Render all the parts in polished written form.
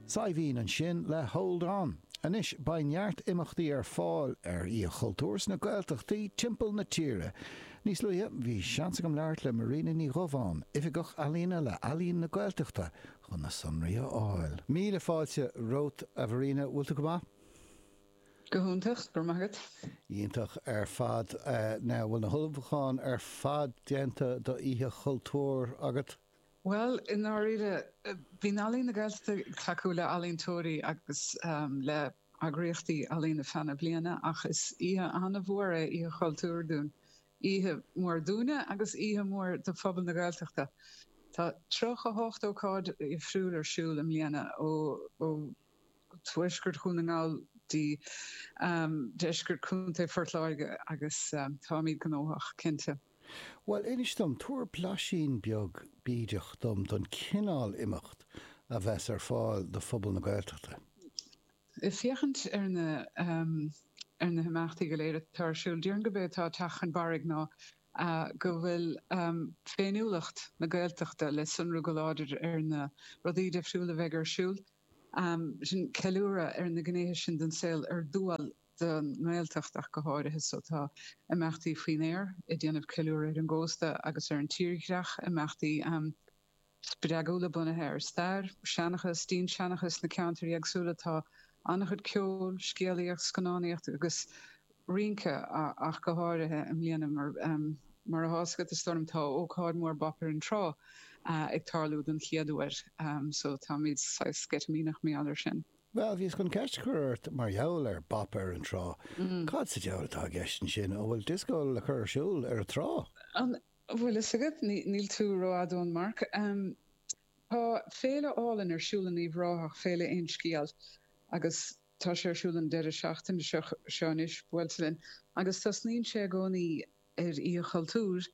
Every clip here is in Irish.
Saidhbhín ansin le Hold On. Anois, beidh neart imeachtaí ar fáil ar Oíche Chultúir sna Gaeltachtaí timpeall na tíre. Níos luaithe, bhí seans agam labhairt le Marina Ní Dhubháin, Oifigeach Ealaíne le Ealaín na Gaeltachta, chun na sonraí a fháil. Míle fáilte romhat, a Mharina. Bhfuil tú go maith? Go hiontach, go raibh maith agat. Iontach ar fad. Now, bhfuil na hullmhúcháin ar fad déanta do Oíche Chultúir agat? Bhuel, i ndáiríre, bíonn Ealaín na Gaeltachta ag tacú le ealaíontóirí agus le heagraíochtaí ealaíona feadh na bliana ach is oíche an-mhór é Oíche Chultúir dúinn. Oíche mhór dúinne agus oíche mhór do phobal na Gaeltachta. Tá 38 ócáid dhifriúil ar siúl i mbliana ó tuaisceart Dhún na nGall dtí deisceart Chontae Phort Láirge agus táimid gnóthach, cinnte. Bhuel, inis dom, tabhair blaisín beag bídeach dom don chineál imeacht a bheas ar fáil do phobal na Gaeltachta. Ag féachaint ar na ar na himeachtaí go léir atá ar siúl, déarfainn gurb é atá ag teacht chun barraigh ná go bhfuil féiniúlacht na Gaeltachta le sonrú go láidir ar na rudaí difriúla a bheidh ar siúl. Sin ceiliúradh ar na gnéithe sin den saol ar dual don nGaeltacht ach go háirithe. So tá imeachtaí faoin aer ag déanamh ceiliúradh ar an gcósta agus ar an tírdhreach, imeachtaí spreagúla bunaithe ar stair, seanchas, dinnseanchas na ceantair éagsúla. Tá an-chuid ceoil, scéalaíocht, scannánaíocht agus rince ach go háirithe i mbliana mar mar atá fhios agat is dóigh liom tá ócáid mhór Bop ar an Trá ag tarlú don chéad uair so táimid saghas sceitimíneach mar gheall air sin. Bhuel, bhíos chun ceist a chur ort mar gheall ar Bop ar an Trá. Cad sa diabhal atá i gceist ansin? An bhfuil dioscó le cur ar siúl ar an trá? An bhfuil fhios agat? Níl tú rófhada ón marc. Tá féile álainn ar siúl in Uíbh Ráthach, Féile Aon Scial, agus tá sé ar siúl an deireadh seachtaine seo anois, buailte linn, agus tosnaíonn sé i gcónaí ar Oíche Chultúir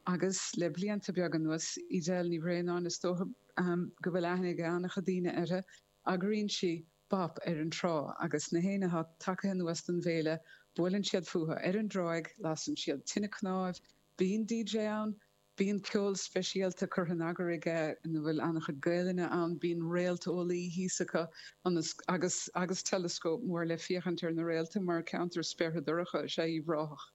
agus le blianta beaga anuas, Edel Ní Bhraonáin, is dócha go bhfuil aithne ag an-chuid daoine uirthi, Eagraíonn sí Bop ar an Trá agus na héinne atá tagtha anuas don bhféile, buaileann siad fúthu ar an dtráigh, lasann siad tine cnáimh, bíonn DJ ann, bíonn ceol speisialta curtha in eagar aige ina bhfuil an-chuid Gaelainne ann, bíonn réalteolaí thíos acu ionas agus agus teileascóp mór le féachaint ar na réalta mar ceantar spéartha dorcha is ea Uíbh Ráthach.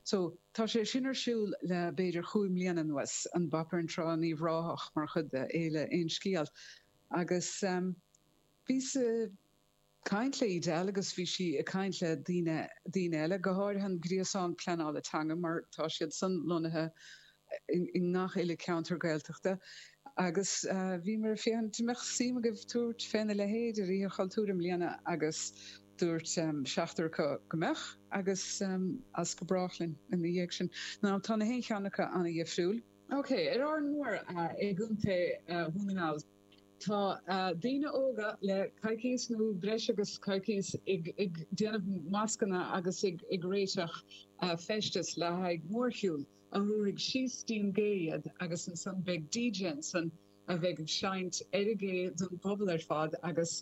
So tá sé sin ar siúl le b'fhéidir chúig mbliana anuas, an Bop ar an Trá in Uíbh Ráthach mar chuid de Fhéile Aon Scial. Agus bhíos ag caint le Edel agus bhí sí ag caint le daoine, daoine eile, go háirithe an Gréasán Pleanála Teanga mar tá siad san lonnaithe i ngach uile ceantar Gaeltachta agus bhíomar ag féachaint an mbeadh suim agaibh tabhairt féna leithéid ar Oíche Chultúir i mbliana agus dúirt seachtar acu go mbeadh agus as go brách linn ina dhiaidh sin. Now tá na haon cheann acu an-dhifriúil. Ok, ar Árainn Mhór i gContae Dhún na nGall, tá daoine óga le coicíos nó breis agus coicíos ag déanamh mascanna agus ag réiteach feisteas le haghaidh mórshiúl a thabharfaidh síos dtí an gcé iad agus ansan beidh DJ ansan a bheidh ag seinnt ar an gcé don bpobal ar fad agus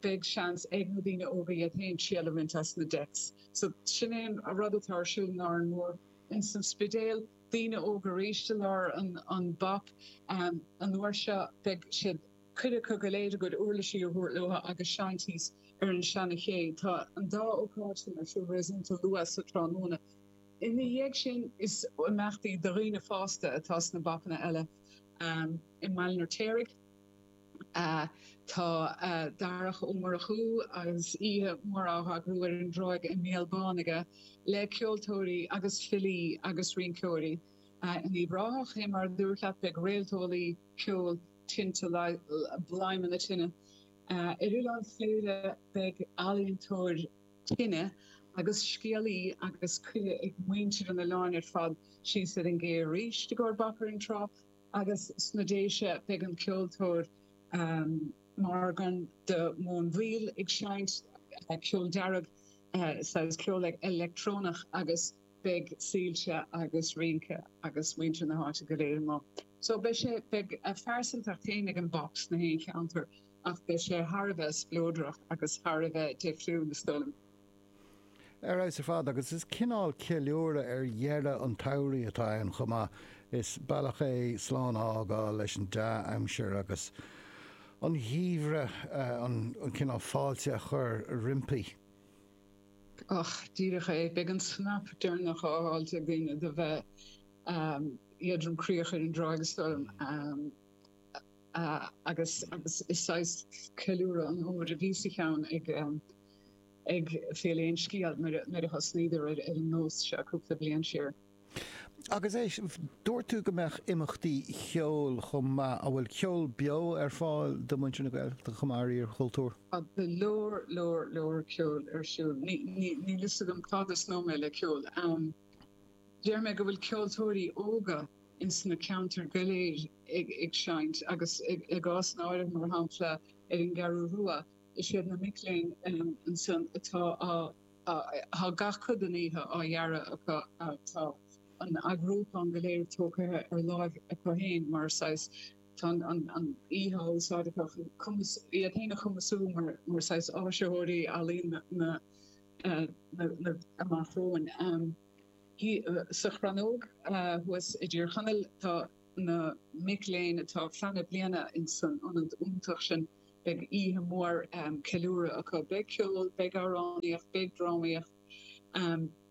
beidh seans ag na daoine óga iad féin triail a bhaint as na decks. So sin é an rud atá ar siúl in Árainn Mhór. Ins an Spidéal. daoine óga arís i lár an Bop. An uair seo beidh siad cuid acu go léir a gcuid uirlisí a thabhairt leo agus seinnt thíos ar an seana ché. Tá an dá ócáid sin ar siúl réasúnta luath sa tráthnóna. Ina dhiaidh sin is imeachtaí do dhaoine fásta atá sna Bopanna eile i mBaile an Fheirtéaraigh. Tá Darach Ó Murchú agus oíche mhór á eagrú ar an dtráigh i mBéal Bán aige le ceoltóirí agus filí agus rinceoirí. In Uíbh Ráthach, fé mar a dúrt leat, beidh réalteolaí, ceol, tinte, bladhmanna tine. Ar Oileán Chléire beidh ealaíontóir tine agus scéalaí agus cuireadh ag muintir an oileáin ar fad síos ar an gcé arís i gcomhair Bop ar an Trá. Agus sna Déise beidh an ceoltóir Morgan de Móinbhíol ag seinnt ceol dearg, saghas ceol leictreonach agus beidh soilse agus rince agus muintir na háite go léir amuigh. So beidh sé, beidh a phearsantacht féin ag an Bop sna haon cheantar ach beidh sé thar a bheith spleodrach agus thar a bheith difriúil is dóigh liom. Ar fheabhas ar fad, agus is cineál ceiliúradh ar dheireadh an tsamhraidh atá ann chomh maith. Is bealach é slán a fhágáil leis an dea-aimsir agus an gheimhridh, an cineál fáilte a chur roimpi. Och, díreach é. Beidh an snap deireanach á fháilt ag daoine do bheith éadrom croíoch ar an dtráigh is dóigh liom. Agus agus is saghas ceiliúradh an fhómhair a bhí sa cheann ag ag Féile Aon Sciath nuair a thosnaíodar ar an nós seo cúpla bliain siar. Agus éist, dúirt tú go mbeadh imeachtaí cheoil chomh maith. An bhfuil ceol beo ar fáil do mhuintir na Gaeltachta chomh maith ar Oíche Chultúir? Tá go leor, leor, leor ceoil ar siúl. Níl fhios agam cá dtosnóidh mé le ceol. Déarfaidh mé go bhfuil ceoltóirí óga ins na ceantair go léir ag seinnt agus i gcás áirithe, mar shampla ar an gCeathrú Rua, is iad na mic léinn ansan atá á Tá gach cuid den oíche á dhearadh acu. Tá an eagrúchán go léir tógtha ar láimh acu féin mar saghas, tá an oíche á úsáid acu chun cumas, iad féin a chumasú mar saghas áisitheoirí ealaíon na amach romhainn. Sa Chrannóg thuas i dTír Chonaill tá na mic léinn atá ag pleanáil bliana ins an ionad iontach sin. Beidh oíche mhór ceiliúradh acu. Beidh ceol, beidh amhránaíocht, beidh drámaíocht.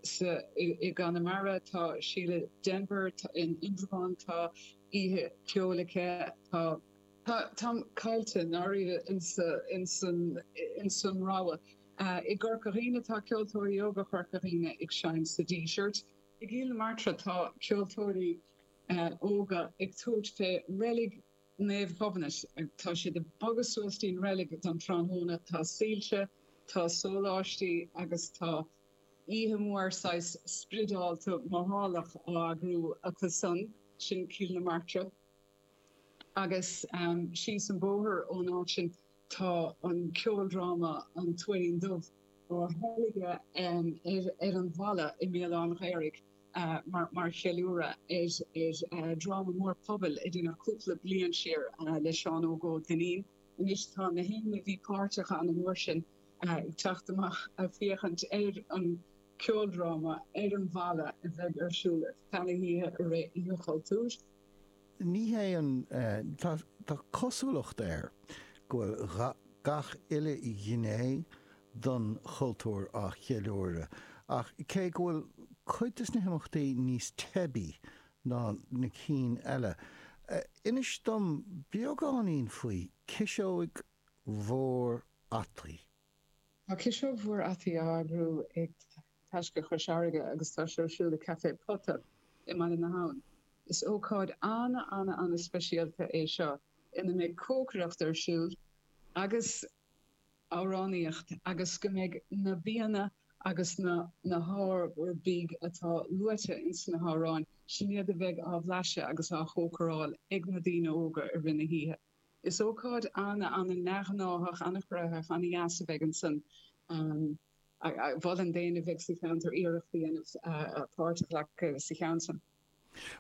Sa, i gConamara tá Síle Denvir, in Indreabhán tá oíche ceoil aici, tá. Tá, táim caillte i ndáiríre insa, insan, insan rogha. I gCorca Dhuibhne tá ceoltóirí óga Chorca Dhuibhne ag seinnt sa Díseart. I gCill na Martra tá ceoltóirí óga ag tabhairt fé reilig Naomh Gobnait. Tá siad ag bogadh suas dtí'n reilig don tráthnóna. Tá soilse, tá sóláistí agus tá oíche mhór saghas spriodálta mothálach á eagrú acu san, sin Cill na Martra. Agus síos an bóthar ón áit sin tá an ceoldráma An Tuairín Dubh á theilgeadh ar an bhalla i mBéal Átha an Ghaorthaidh. mar cheiliúradh ar dhráma mór pobail a deineadh cúpla bliain siar le Seán Óg Ó Duinnín. Anois tá na héinne a bhí páirteach ann an uair sin ag teacht amach ag féachaint ar an ceoldráma ar an bhalla a bheidh ar siúl ar feadh na hoíche i rith Oíche Chultúir. Ní hé an, tá cosúlacht air go bhfuil gach uile ghné don chultúr á cheiliúradh, ach cé go bhfuil cuid de na himeachtaí níos teibí ná na cinn eile, inis dom beagáinín faoi Ciseog Mhór Fhataí. Tá Ciseog Mhór Fhataí á eagrú ag Taisce Chois Fharraige agus tá sé ar siúl i Café Pota i mBaile na hAbhann. Is ócáid ana-ana-ana-speisialta é seo ina mbeidh cócaireacht ar siúl agus amhránaíocht agus go mbeidh na bianna agus na na hábhair bídh atá luaite ins na hamhráin, sin iad a bheidh á bhlaiseadh agus á chócaráil ag na daoine óga i rith na hoíche. Is ócáid ana, ana neamhghnáthach, ana chruthaitheach, ana dheas a bheidh ansan. Mholfainn d'éinne a bheidh sa cheantar iarracht a dhéanamh páirt a ghlacadh sa cheann san.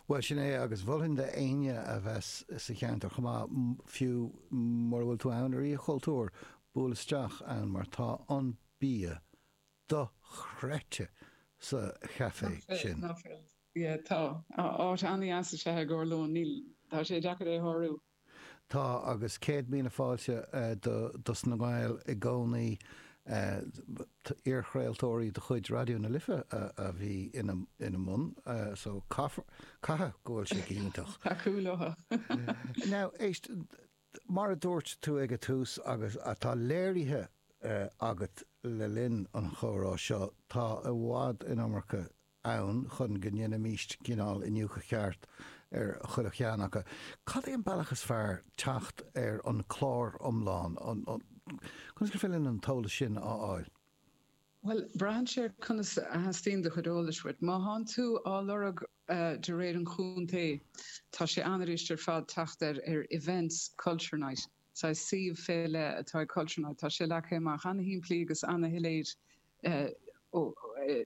Bhuel, sin é, agus mholfainn d'éinne a bheas sa cheantar chomh maith, fiú mura bhfuil tú ann ar Oíche Chultúir, buail isteach ann mar tá an bia dochreidte sa chaifé sin. Nach bhfuil? Yeah, tá. Áit an-dheas is ea é i gcomhair lóin, níl, tá sé deacair é a shárú. Tá, agus 100,000 fáilte dos na Gaeil i gcónaí. Iarchraoltóirí de chuid Raidió na Life a bhí ina mbun, so caithfidh go bhfuil sé go hiontach. Tacú leo. Now, éist, mar a dúirt tú ag an tús agus atá léirithe agat le linn an chomhrá seo, tá i bhfad an iomarca ann chun go ndéanfaimíst cineál iniúchadh ceart ar chuile cheann acu. Cad é an bealach is fearr teacht ar an clár iomlán? Conas gur féidir linn an t-eolas sin a fháil? Bhuel, braitheann sé ar conas a theastaíonn do chuid eolais uait. Má thánn tú á lorg de réir an chontae, tá sé an-fhuirist ar fad teacht ar ar Events Culture Night. Saghas suíomh fé leith atá ag Culture Night. Tá sé leagtha amach an-shimplí agus an-shoiléir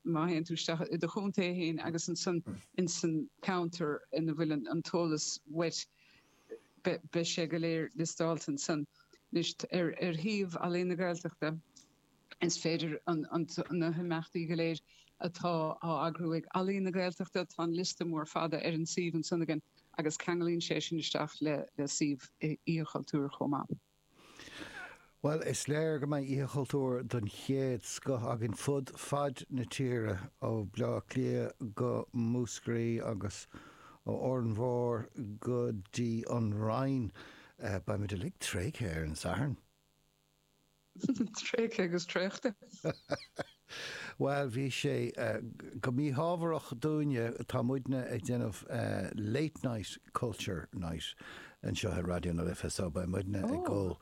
má théann tú isteach i do chontae féin agus ansan insan ceantar ina bhfuil an t-eolas uait, beidh sé go léir liostáilte ansan. Anois, ar shuíomh Ealaín na Gaeltachta, is féidir na himeachtaí go léir atá á eagrú ag Ealaín na Gaeltachta, tá an liosta mór fada ar an suíomh ansan againn agus ceanglaíonn sé sin isteach le suíomh Oíche Chultúir chomh maith. Bhuel, is léir go mbeidh Oíche Chultúir den chéad scoth againn fud fad na tíre, ó Bhaile Átha Cliath go Múscraí agus ó Árainn Mhór go dtí an Rinn. Beidh muid uilig tréigthe ar an Satharn. Tréigthe agus traochta. Bhuel, bhí sé go míthábharach dúinne, tá muidne ag déanamh Late Night Culture Night anseo ar Raidió na Life so beidh muidne ag dul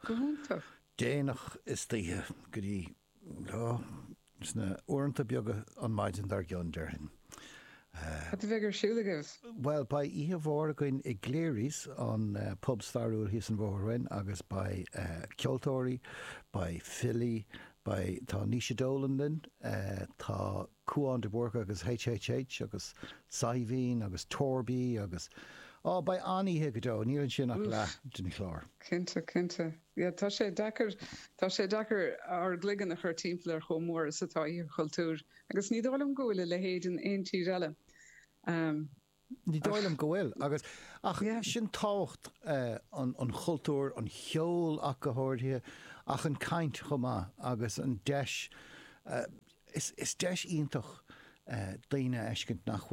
déanach istoíche go dtí sna uaireanta beaga an maidin dár gcionn, déarfainn. Cad a bheidh ar siúl agaibh? Bhuel, beidh oíche mhór againn i gCleary's, an pub stairiúil thíos an bhóthar uainn, agus beidh ceoltóirí, beidh filí, beidh, tá Naoise Dolan linn, tá Cúán de Búrca agus HHH agus Saidhbhín agus Torby agus, á, beidh an-oíche go deo, níl ansin ach leath den chlár. Cinnte, cinnte. Yeah, tá sé deacair, tá sé deacair ár gcloigeann a chur timpeall ar chomh mór is atá Oíche Chultúir. Agus ní dóigh liom go bhfuil a leithéid in aon tír eile. Ní dóigh liom go bhfuil. Agus, ach sin tábhacht an chultúir, an cheoil ach go háirithe, ach an caint chomh maith agus an deis, is deis iontach daoine a fheiscint nach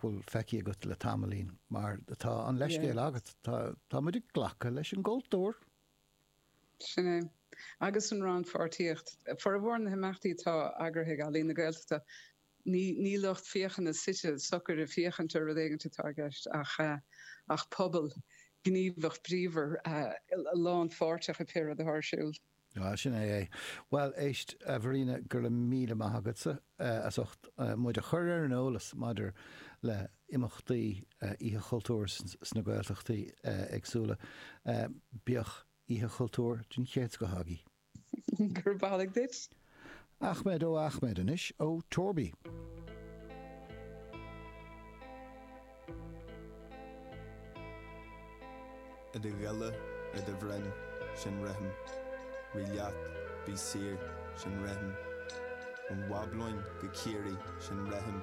bhfuil feicthe agat le tamaillín mar tá an leithscéal agat, tá muid ag glacadh leis an gcultúr. Sin é. Agus an rannpháirtíocht. Formhór na himeachtaí atá eagraithe ag Ealaín na Gaeltachta, ní lucht féachana suite socair ag féachaint ar rud éigin atá i gceist ach ach pobal gníomhach bríomhar lánpháirteach i pé rud atá ar siúl. Ah, sin é é. Bhuel, éist, a Mharina, go raibh míle maith agatsa as ucht muid a chur ar an eolas maidir le imeachtaí Oíche Chultúir sna Gaeltachtaí éagsúla. Bíodh Oíche Chultúir den chéad scoth agaibh. Gurb amhlaidh duit. Achmed O Achmed anois ó Torby. I do ghile, ar do bhroinn, sin rithim. Rith leat, bí saor, sin rithim. Ón mBablóin go Ciarraí, sin rithim.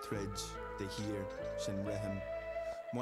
Troid, de shíor, sin rithim.